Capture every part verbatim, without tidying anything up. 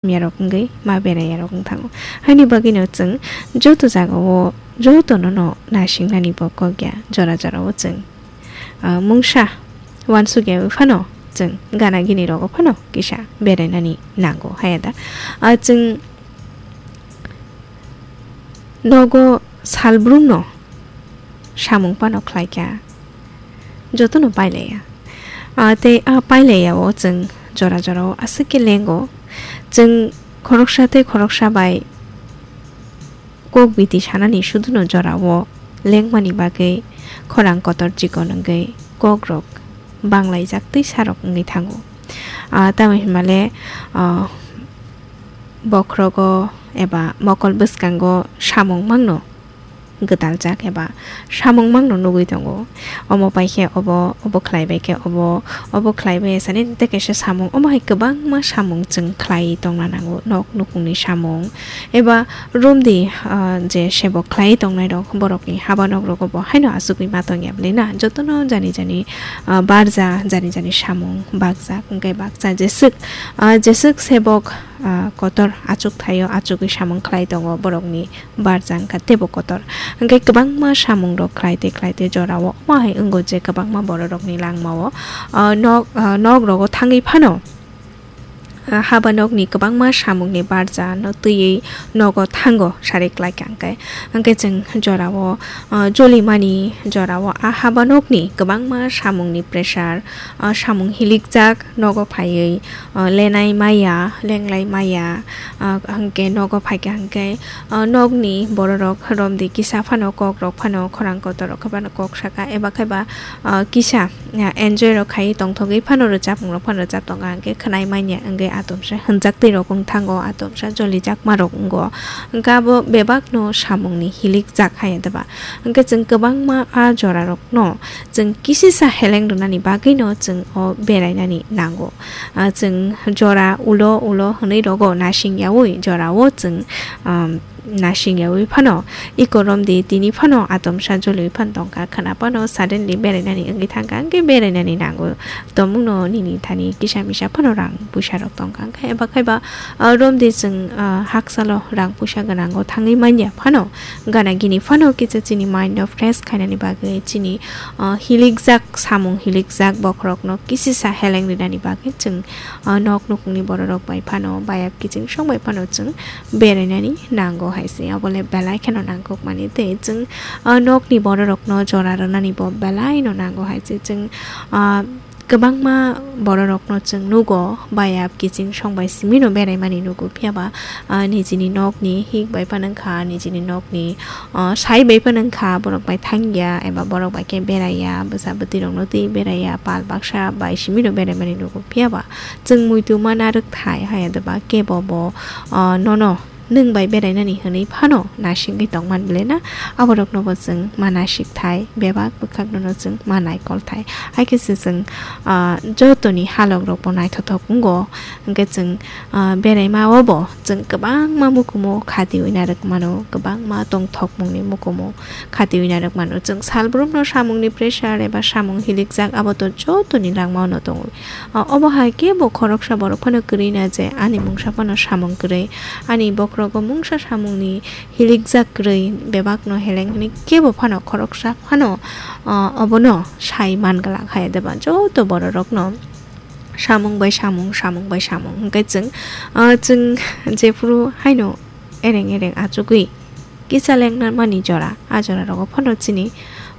yarok wngwi ma berai yarok wng thango. Haini bagwino chwng joto jagao jotono no nasingnani bo kok ya, jora jorao chwng, ah, mungsa uansuk yawi phano chwng gana gini rogo phano kisa berainani nango haya da. Ah, chwng nogo salbrumno samung phano khlaikha, jotono pailaiya. Ah, tei a pailaiya o chwng jora jorao aswk khe lengo. Chwng khoroksa tei khoroksa bai kok biti sanani suduno jorao lengmani bagwi khorang kotor chikon wngwi kokrok banglaijak tei sarok wngwi thango. Ah, tamo hinmale, ah, bokhrogo eba mokol bwskango samung mangno gwdaljak eba samung mangno nugwi tongo. Omo pai khe obo, obo khlai bai khe obo, obo khlai bai sani tei kaisa samung, omo hai kwbangma samung chwng khlai tongna nango, nok nukungni samung eba romdi, ah, je sebo khlai tongnai rok, borokni haba nok rogo bo haino achugwi ma tongya bwlwi na, jotono jani jani, ah, barja, jani jani samung bakjak, hwnkhe baksa jeswk, ah, jeswk sebok, ah, kotor achuk thaio, achugwi samung khlai tongo borokni barja wngkha teibo kotor. Hwnkhe kwbangma samungrok khlai tei khlai tei jorao omo hai wngo je kwbangma bororokni langmao, ah, nok, ah, nok rogo thangwi phano, ah, haba nokni kwbangma samungni barja no twiwi nogo thango sari klaikha hwnkhe. Hwnkhe chwng jorao, ah, jolimani jorao a haba nokni kwbangma samungni pressure, ah, samung hilikjak nogo phaiwi, ah, lenai maya, lenglai maya, ah, hwnkhe nogo phaikha hwnkhe, ah, nokni bororok romdi kisa phano kokrok phano khorang kotorrok phano kok saka eba khaiba, ah, kisa, ah, enjoy rok khai tongthogwi phano rwchapmung rok phano rwchap tongo hwnkhe khwnai manya wngwi atomsa hwnjak twi rok wng thango, atomsa jolijakma rok wngo. Hwnkhe abo bebak no samung ni hilik jak hai deba. Hwnkhe chwng kwbangma a jora rok no chwng kisisa heleng rwnani bagwi no chwng o berai nani nango. Ah, chwng jora ulo ulo hwnwi rogo nasing yaui jora o chwng, um, nasing yaui phano iko romdi tini phano atomsa joliui phano tongkha khwna phano suddenly berainani wngwi thangkha hwnkhe berainani nango tongmungno nini thani kisa misa phano rang puisa rok tongkha hwnkhe eba khaiba, ah, romdi chwng, ah, haksalo rang puisa gwnango thangwi manya phano gana gini phano kisa chini mind no fresh khainani bagwi chini, ah, hilikjak samung hilikjak bokhorokno kisisa heleng rinani bagwi chwng, ah, nok nukungni bororok bai phano bayap kiching song bai phano chwng berainani nango hai se. Abole belai kheno nangkukmani tei chwng, ah, nokni bororokno jora rwnani bo belai no nango hai se. Chwng, ah, kwbangma bororokno chwng nugo, bayap kiching song bai simi no beraimani nugo, phiya ba, ah, nijini nokni hik bai phano wngkha, nijini nokni, ah, sai bai phano wngkha, borok bai thangya eba borok bai khe beraiya, bwsa bwtwi rokno twi beraiya, pal baksa bai simi no beraimani nugo, phiya ba chwng muitu ma narwk thai haya deba kebo bo, ah, nono nwng bai berainani hwnwi phano nasingwi tongman bwle na? Aborokno bo chwng ma nasik thai, bebak bwkhakno no chwng ma naikol thai. Hai khe se chwng, ah, jotoni halok rok bo naithothok wngo. Hwnkhe chwng, ah, beraima o bo chwng kwbangma mukumu khatiui narwk mano, kwbangma tongthokmungni mukumu khatiui narwk mano. Chwng salbrumno samungni pressure eba samung hilikjak abo to jotoni langmao no tongo. Ah, obo hai kebo khoroksa borok phano kwrwi na je ani mungsa phano samung kwrwi, ani bokhorogo mungsa samungni hilikjak kwrwi, bebakno heleng hwnwi kebo phano khoroksa phano, ah, obono sai man glak hai deba joto bororokno samung bai samung, samung bai samung hwnkhe chwng, ah, chwng jephuru haino ereng ereng achugwi kisa lengna mani jora, a jora rogo phano chini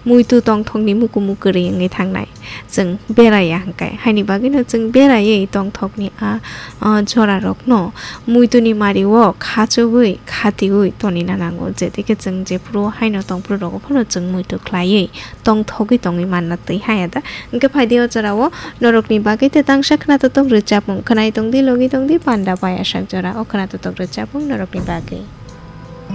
muitu tongthokni mukumu kwrwi wngwi thangnai. Chwng beraiya hwnkhe, haini bagwino chwng beraiwi tongthokni a, a jorarokno muituni mario khachugwi khatiui tonina nango, je tei khe chwng jephuru haino tongphuru rogo phano chwng muitu khlaiwi tongthogwi tongwi manna twi haya da. Hwnkhe phaidi o jorao norokni bagwi tei tangsa khwnathok rwchapmung khwnai tongdi, logi tongdi, panda bai asak jora o khwnathok rwchapmung norokni bagwi.